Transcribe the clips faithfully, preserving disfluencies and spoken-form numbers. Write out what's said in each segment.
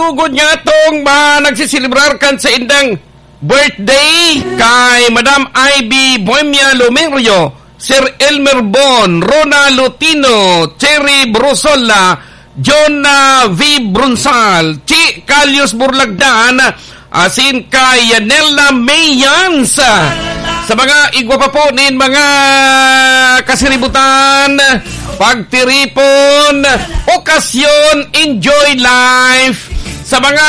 Ugod niya tong mga nagsiselebrar kan saindang birthday kay Madam Ivy Bohemia Lumerio, Sir Elmer Bon, Rona Lutino, Cherry Brusola, John, ah, V Brunsal, Chi Calius Burlagdan, asin kay Yanela Mayans. Sa mga igwa pa po nin mga kasiributan, pagtiripon, okasyon, enjoy life. Sa mga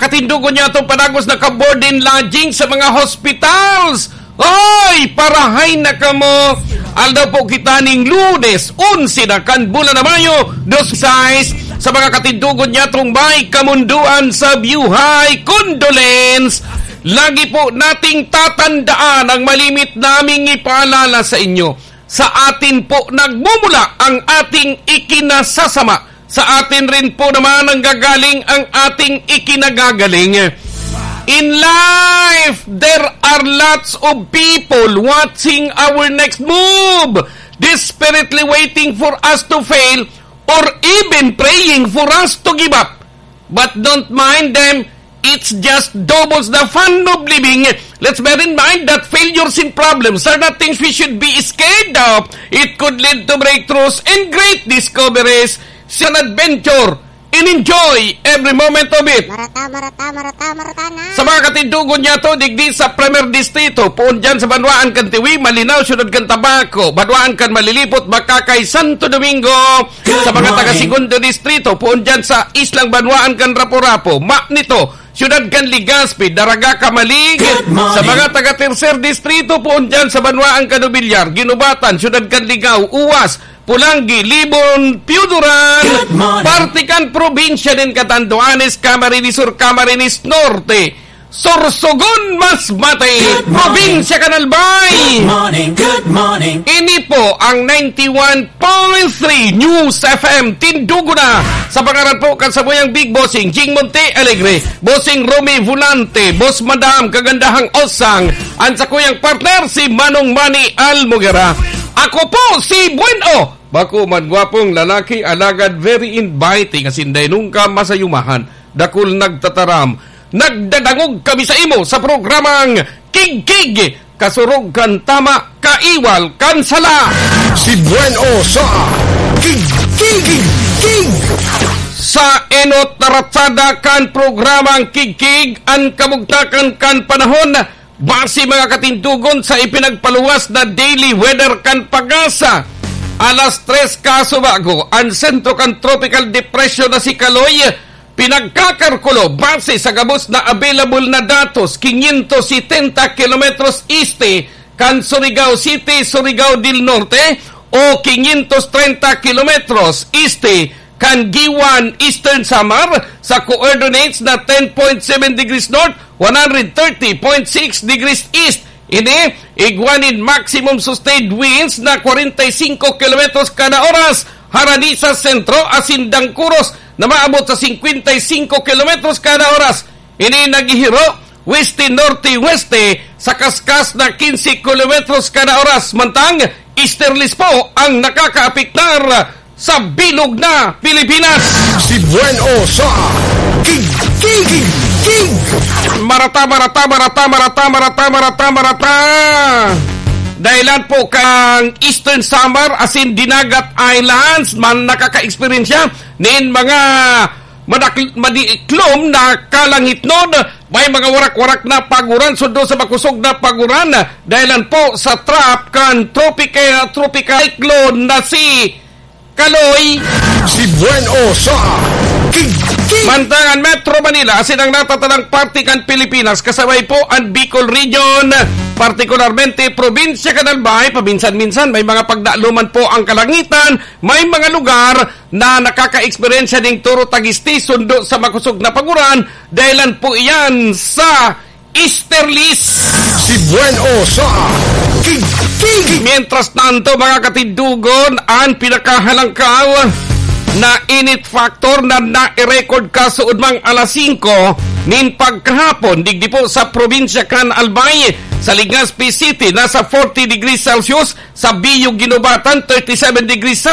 katindogon niya itong panagos na ka-board and lodging sa mga hospitals, oy, parahay na kamo! Aldaw po kita ning Lunes, onse na kan bulan na Mayo, dos sais, sa mga katindogon niya itong may kamunduan sa buhay. Condolence! Lagi po nating tatandaan ang malimit naming ipaalala sa inyo. Sa atin po nagmumula ang ating ikinasasama. Sa atin rin po naman nanggagaling ang ating ikinagagaling. In life, there are lots of people watching our next move, desperately waiting for us to fail, or even praying for us to give up. But don't mind them, it's just doubles the fun of living. Let's bear in mind that failures and problems are not things we should be scared of. It could lead to breakthroughs and great discoveries. It's an adventure and enjoy every moment of it. Marata, marata, marata, marata na. Sa mga katindogon niya to, digdi sa Primer Distrito, poon dyan sa banwaan kan Tiwi, Malinaw, Siyudad kan Tabaco, banwaan kan Malilipot, Bacacay, Santo Domingo. Sa mga taga Segundo Distrito, poon dyan sa islang banwaan kan Rapu-Rapu, Manito, Siyudad kan Legazpi, Daraga, Camalig. Sa mga taga Tercer Distrito, poon dyan sa banwaan kan Nobiliar, Guinobatan, Siyudad kan Ligao, Uwas, Polangui, Libon, Pioduran, parte kan probinsya nin Catanduanes, Camarines Sur, Camarines Norte, Sorsogon, Masbate, probinsya kan Albay. Good morning, good morning. Ini po ang ninety-one point three News F M Tindugo na. Sa pangaran po kan samuyang Big Bossing, Jing Monte Alegre, Bossing Romy Volante, Boss Madam, Kagandahang Osang, an sakuyang partner, si Manong Manny Almogera. Ako po si Buen O. Bako man gwapong lalaki, alagad very inviting, asin dai nungka masayumahan. Dakul nagtataram. Nagdadangog kami sa imo sa programang Kigkig, kasurog kan tama, kaiwal kan sala. Si Buen O sa Kigkig. Sa enot na ratsada kan programang Kigkig, an kabugtakan kan panahon, base mga katindogon sa ipinagpaluwas na daily weather kan PAGASA. Alas tres kasubago, an sentro kan tropical depression na si Kaloy pinagkakalkulo base sa gabos na available na datos, quinientos setenta kilometros este kan Surigao City, Surigao del Norte, o quinientos treinta kilometros este kan Guiuan, Eastern Samar, sa coordinates na ten point seven degrees north, one hundred thirty point six degrees east. Ini, igwa nin maximum sustained winds na kwarenta y singko kilometros kada oras, harani sa sentro asin dangkuros na maabot sa singkwenta y singko kilometros kada oras. Ini naghihiro weste-norte-weste sa kaskas na quince kilometros kada oras, mantang easterlies po ang nakakaapektar sa bilog na Pilipinas. Si Buen O sa Kig, Kig, Kig, Kig. Marata, marata, marata, marata, marata, marata, marata. Dahilan po kan Eastern Samar asin Dinagat Islands man nakaka-eksperyensya nin mga madak-, madiklom na kalangitnon. May mga warak-warak na paguran, sundo sa makosog na paguran. Dahilan po sa trap kan tropic-, tropical cyclone na si Kaloy. Si Buen O sa Kig, Kig. Mantang an Metro Manila asin ang natatanang parte kan Pilipinas, kasabay po an Bicol Region, partikularmente probinsya kan Albay, paminsan-minsan may mga pagdaloman po ang kalangitan, may mga lugar na nakakaeksperyensya ning toro tag-este sundo sa makosog na paguran, dahilan po iyan sa easterlies. Si Buen O sa Kig, Kig. Mientras tanto, mga katindogon, an pinakahalangkaw na init factor na nai-record kasuodmang alas singko nin pagkahapon, digdi po sa probinsya kan Albay, sa Legazpi City, nasa forty degrees Celsius, sa Biyo, Guinobatan, thirty-seven degrees